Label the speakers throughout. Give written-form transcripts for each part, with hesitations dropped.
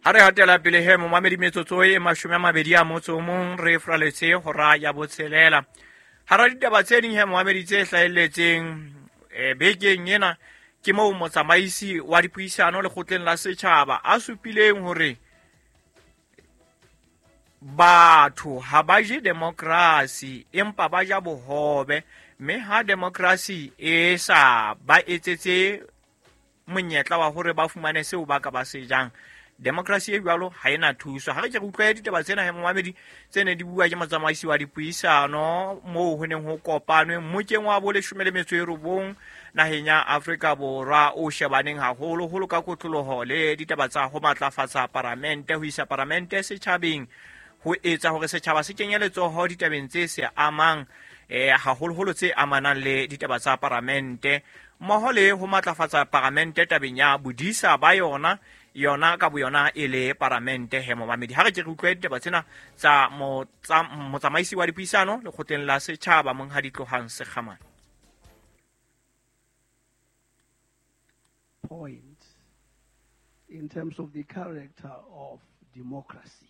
Speaker 1: Ha re hatela pele he momamedi, metsotso e 21 re fraletse hora ya 6. Hara ditaba tse ding he momamedi tse hlahelletseng bekeng ena, ke moo motsamaisi wa dipuisano lekgotleng la setjhaba a supileng hore batho ha ba je demokrasi empa ba ja bohobe, mme ha demokrasi e sa ba etsetse monyetla wa hore ba fumane seo ba ka ba se jang, demokrasi e jwalo ha ena thuso. Ha re ke re utlwe ditaba tsena he momamedi tse ne di bua ke motsamaisi wa dipuisano moo ho neng ho kopanwe mmokeng wa bo 19 naheng ya Afrika Borwa o shebaneng haholoholo ka kotloloho le ditaba tsa ho matlafatsa paramente, ho isa paramente setjhabeng, ho etsa hore setjhaba se kenye letsoho ditabeng tse se amang haholoholo tse amanang le ditaba tsa paramente, mmoho le ho matlafatsa paramente tabeng ya bodisa ba yona, yona ka boyona e le paramente he momamedi. Ha re ke re utlwe ditaba tsena tsa motsamaisi wa dipuisano lekgotleng la setjhaba Monghadi Tlohang Sekgamane.
Speaker 2: Point in terms of the character of democracy.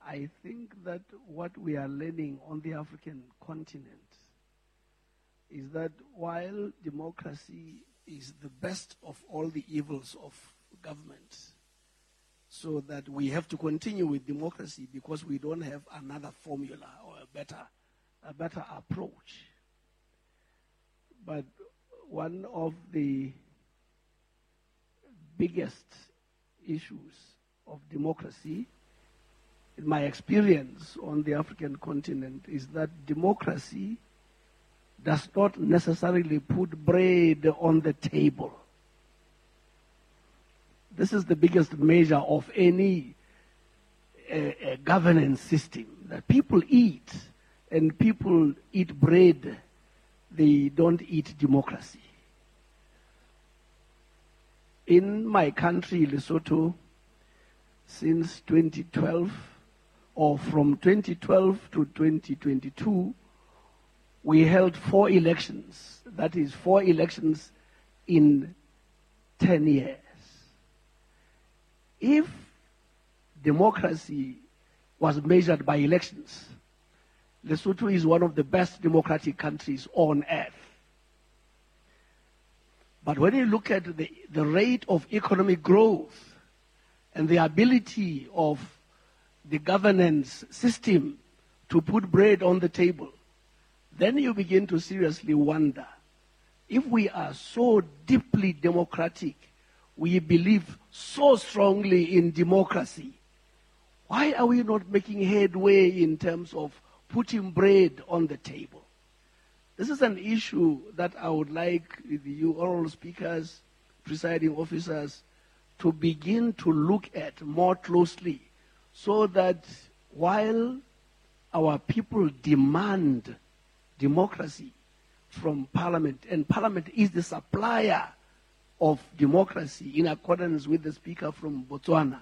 Speaker 2: I think that what we are learning on the African continent is that while democracy is the best of all the evils of government, so that we have to continue with democracy because we don't have another formula or a better approach. But one of the biggest issues of democracy, in my experience on the African continent, is that democracy does not necessarily put bread on the table. This is the biggest measure of any governance system, that people eat, and people eat bread. They don't eat democracy. In my country, Lesotho, since 2012, or from 2012 to 2022, we held 4 elections. That is 4 elections in 10 years. If democracy was measured by elections, Lesotho is one of the best democratic countries on earth. But when you look at the rate of economic growth and the ability of the governance system to put bread on the table, then you begin to seriously wonder, if we are so deeply democratic, we believe so strongly in democracy, why are we not making headway in terms of putting bread on the table? This is an issue that I would like you oral speakers, presiding officers, to begin to look at more closely, so that while our people demand democracy from Parliament, and Parliament is the supplier of democracy in accordance with the speaker from Botswana,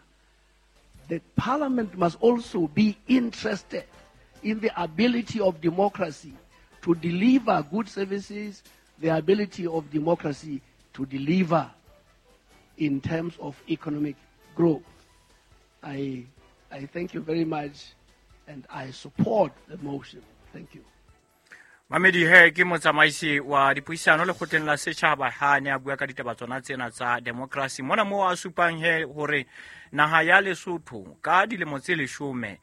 Speaker 2: the Parliament must also be interested in the ability of democracy to deliver good services, the ability of democracy to deliver in terms of economic growth. I thank you very much, and I support the motion. Thank you.
Speaker 1: Mamedi he ke motsamaisi wa dipuisano lekgotleng la setjhaba ha ne a bua ka ditaba tsona tsena tsa democracy. Mona moo a supang he hore naha ya Lesotho ka dilemo tse 10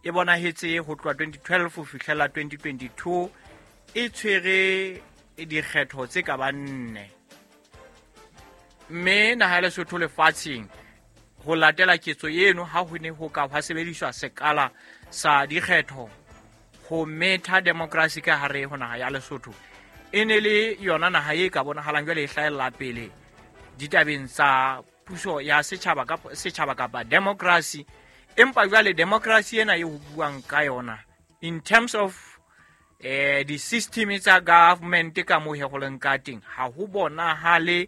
Speaker 1: e bonahetse ho tloha 2012 ho fihlela 2022 e tshwere dikgetho tse ka bang 4. Mme naha ya Lesotho lefatsheng ho latela ketso eno ha ho ne ho ka hwa sebediswa sekala sa dikgetho ho metha democracy ka hare ho naha ya Lesotho, e ne le yona naha e ka bonahalang jwale e hlahella pele ditabeng tsa puso ya setjhaba ka setjhaba kapa democracy. Empa jwale democracy ena e ho buang ka yona in terms of di-system tsa government ka moo he go leng ka teng, ha ho bonahale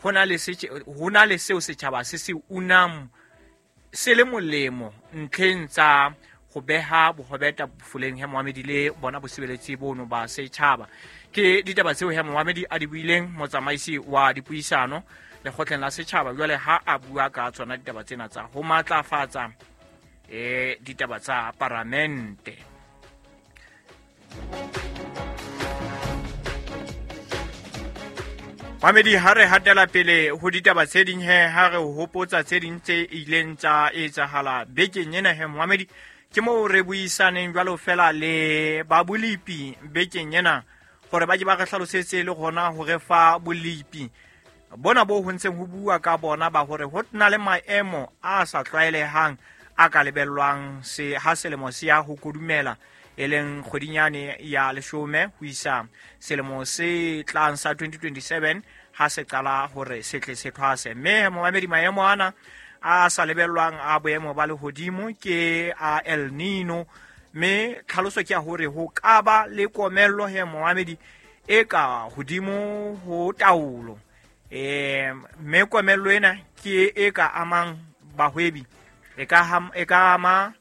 Speaker 1: ho na le seo setjhaba se se unang se le molemo ntlheng tsa ho beha bohobe tafoleng he momamedi le bona bosebeletsi bono ba setjhaba. Ke ditaba tseo he momamedi a di buileng motsamaisi wa dipuisano lekgotleng la setjhaba jwale ha a bua ka tsona ditaba tsena tsa ho matlafatsa ditaba tsa paramente. Mamedi, ha re hatela pele ho ditaba tse ding he, ha re hopotsa tse ding tse ileng tsa etsahala bekeng ena he, Mohamedi, ke moo re buisaneng jwalo fela le ba bolipi bekeng ena hore ba ke ba re hlalosetse le hona ho re fa bolipi bona bo ho ntseng ho bua ka bona ba hore ho na le maemo a sa tlwaelehang a ka lebellwang se ha selemo se ya ho kodumela, e leng kgwedinyane ya leshome ho isa selemo se tlang sa 2027 ha se qala hore se tle se thwase. Mme momamedi, maemo ana a sa lebellwang a boemo ba lehodimo ke a El Nino, mme tlhaloso ke ya hore ho ka ba le komello he momamedi e ka hodimo ho taolo. Mme komello ena ke e ka amang bahwebi, e ka ama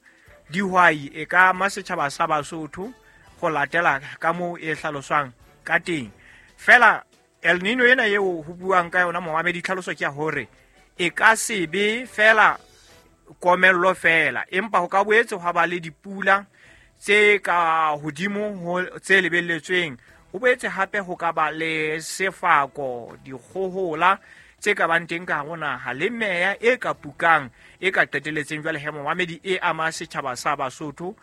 Speaker 1: dihwai, e ka ama setjhaba sa Basotho go latela ka moo e hlaloswang ka teng. Fela El Nino ena eo ho buang ka yona momamedi, tlhaloso ke ya hore e ka se be fela komello fela, empa ho ka boetse hwa ba le dipula tse ka hodimo ho tse lebelletsweng. Ho boetse hape ho ka ba le sefako, dikgohola tse ka bang teng ka hare ho naha, le meya e ka pukang e ka qetelletseng jwale he momamedi e ama setjhaba sa Basotho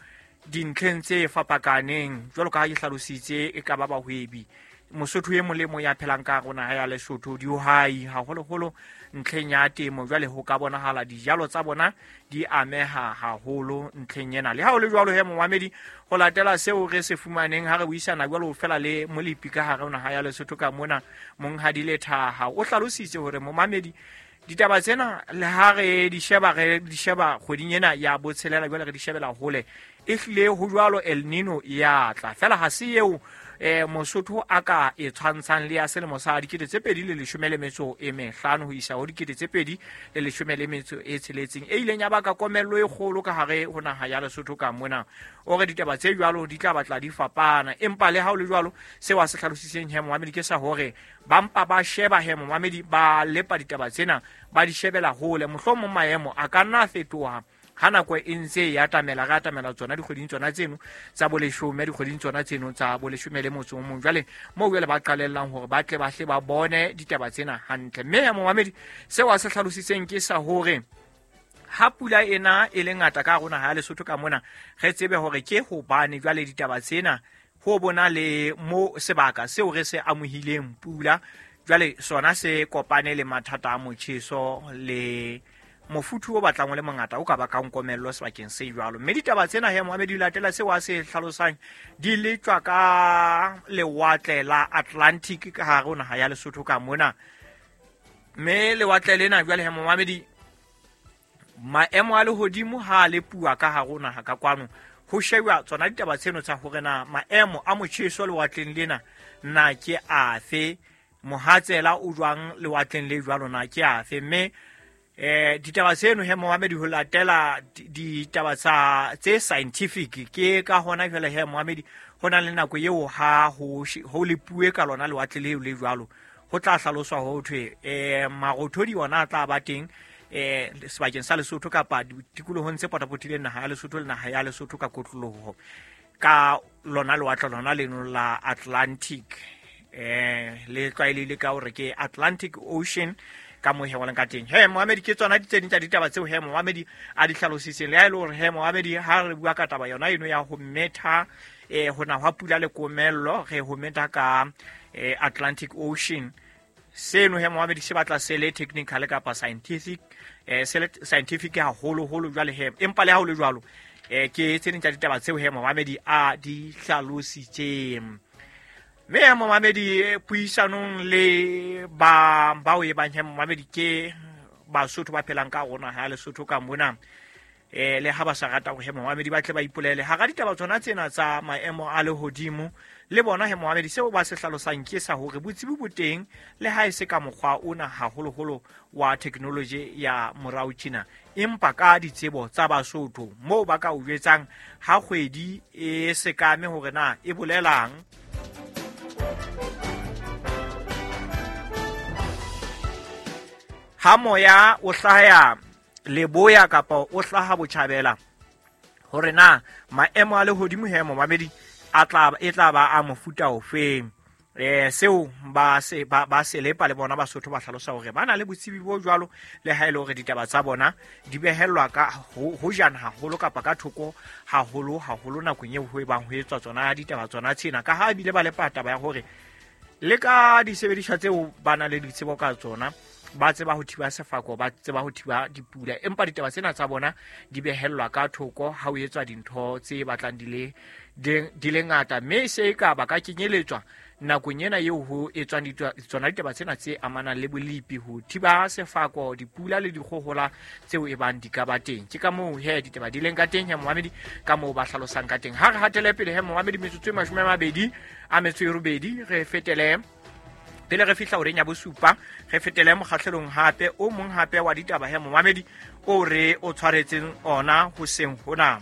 Speaker 1: dintlheng tse fapakaneng. Jwalo ka ha ke hlalositse, e ka ba bahwebi, Mosotho e mong le mong ya phelang ka hare ho naha ya Lesotho, dihwai haholoholo ntlheng ya temo, jwale ho ka bonahala dijalo tsa bona di ameha haholo ntlheng ena. Le ha ho le jwalo he momamedi, ho latela seo re se fumaneng ha re buisana jwalo fela le molepi ka hare ho naha ya Lesotho ka mona, Monghadi Lethaha o hlalositse hore momamedi ditaba tsena le ha re di sheba, re di sheba kgweding ena ya botshelela, jwale re di shebela hole, e hlile ho jwalo El Nino ya tla fela, ha se eo Mosotho a ka e tshwantshang le ya selemo sa 2015 ho isa ho 2016 e ileng ya baka komello e kgolo ka hare ho naha ya Lesotho ka mona. O re ditaba tse jwalo di tla batla di fapana, empa le ha ho le jwalo seo a se hlalositseng he momamedi ke sa hore ba mpa ba sheba he momamedi, ba lepa ditaba tsena ba di shebela hole, mohlomong maemo a ka nna a fetoha ha nako e ntse e atamela, re atamela tsona dikgweding tsona tseno tsa boleshome, dikgweding tsona tseno tsa boleshome le motso o mong. Jwale moo jwale ba qalellang hore ba tle ba hle ba bone ditaba tsena hantle. Mme ya momamedi, seo a se hlalositseng ke sa hore ha pula ena e le ngata ka hare ho naha ya Lesotho ka mona, re tsebe hore ke hobane jwale ditaba tsena ho bona le mo sebaka seo re se amohileng pula, jwale sona se kopane le mathata a motjheso le mofuthu o batlang o le mongata o ka bakang komello sebakeng se jwalo. Mme ditaba tsena he momamedi, di latela seo a se hlalosang, di letswa ka lewatle la Atlantic ka hare ho naha ya Lesotho ka mona. Mme lewatle lena jwale he momamedi, maemo a lehodimo ha a lepuwa ka hare ho naha ka kwano, ho shejwa tsona ditaba tseno tsa hore na maemo a motjheso lewatleng lena na ke afe, mohatsela o jwang lewatleng le jwalo na ke afe. Mme ditaba tseno he momamedi, ho latela ditaba tsa tse scientific, ke ka hona jwale he momamedi ho na le nako eo ha ho lepuwe ka lona lewatle leo le jwalo, ho tla hlaloswa ho thwe marothodi ona a tla ba teng sebakeng sa Lesotho kapa ditikolohong tse potapotileng naha ya Lesotho le naha ya Lesotho ka kotloloho ka lona lewatle lona leno la Atlantic, le tlwaelehile ka hore ke Atlantic Ocean ka moo he waleng ka teng. He momamedi, ke tsona tse ding tsa ditaba tseo he momamedi a di hlalositseng. Le ha e le hore he momamedi, ha re bua ka taba yona eno ya ho metha ho na hwa pula le komello, re ho metha ka Atlantic Ocean, seno he momamedi se batla se le technical kapa scientific, se le scientific haholoholo jwale he, empa le ha ho le jwalo ke tse ding tsa ditaba tseo he momamedi a di hlalositseng. Mme ya momamedi, puisanong le ba bao e bang he momamedi ke Basotho ba phelang ka rona ha Lesotho ka mona, le ha ba sa rata hore he momamedi ba tle ba ipolele hara ditaba tsona tsena tsa maemo a lehodimo, le bona he momamedi seo ba se hlalosang ke sa hore botsebi bo teng le ha e se ka mokgwa ona haholoholo wa technology ya morao tjena, empa ka ditsebo tsa Basotho moo ba ka o jwetsang ha kgwedi e sekame hore na e bolelang. Ha moya o hlaya leboya kapa o hlaha botjhabela, hore na maemo a lehodimo he momamedi a tla e tla ba a mofuta ofeng. Seo ba se ba se lepa le bona Basotho ba hlalosa hore ba na le botsebi bo jwalo, le ha e le hore ditaba tsa bona di behellwa ka ho jana haholo kapa ka thoko haholo haholo nakong eo ho e bang ho etswa tsona ditaba tsona tsena, ka ha ebile ba lepa taba ya hore le ka disebediswa tseo ba na le ditsebo ka tsona, ba tseba ho thiba sefako, ba tseba ho thiba dipula, empa ditaba tsena tsa bona di behellwa ka thoko ha ho etswa dintho tse batlang di le ngata, mme se ka ba ka kenyeletswa nakong ena eo ho etswang tsona ditaba tsena tse amanang le bolepi, ho thiba sefako, dipula le dikgohola tseo e bang di ka ba teng. Ke ka moo he ditaba di leng ka teng he momamedi, ka moo ba hlalosang ka teng. Ha re hatele pele he momamedi, metsotso e 28 re fetele pele re fihla horeng ya bosupa, re fetele mokgahlelong hape o mong hape wa ditaba he momamedi o re o tshwaretseng ona hoseng hona.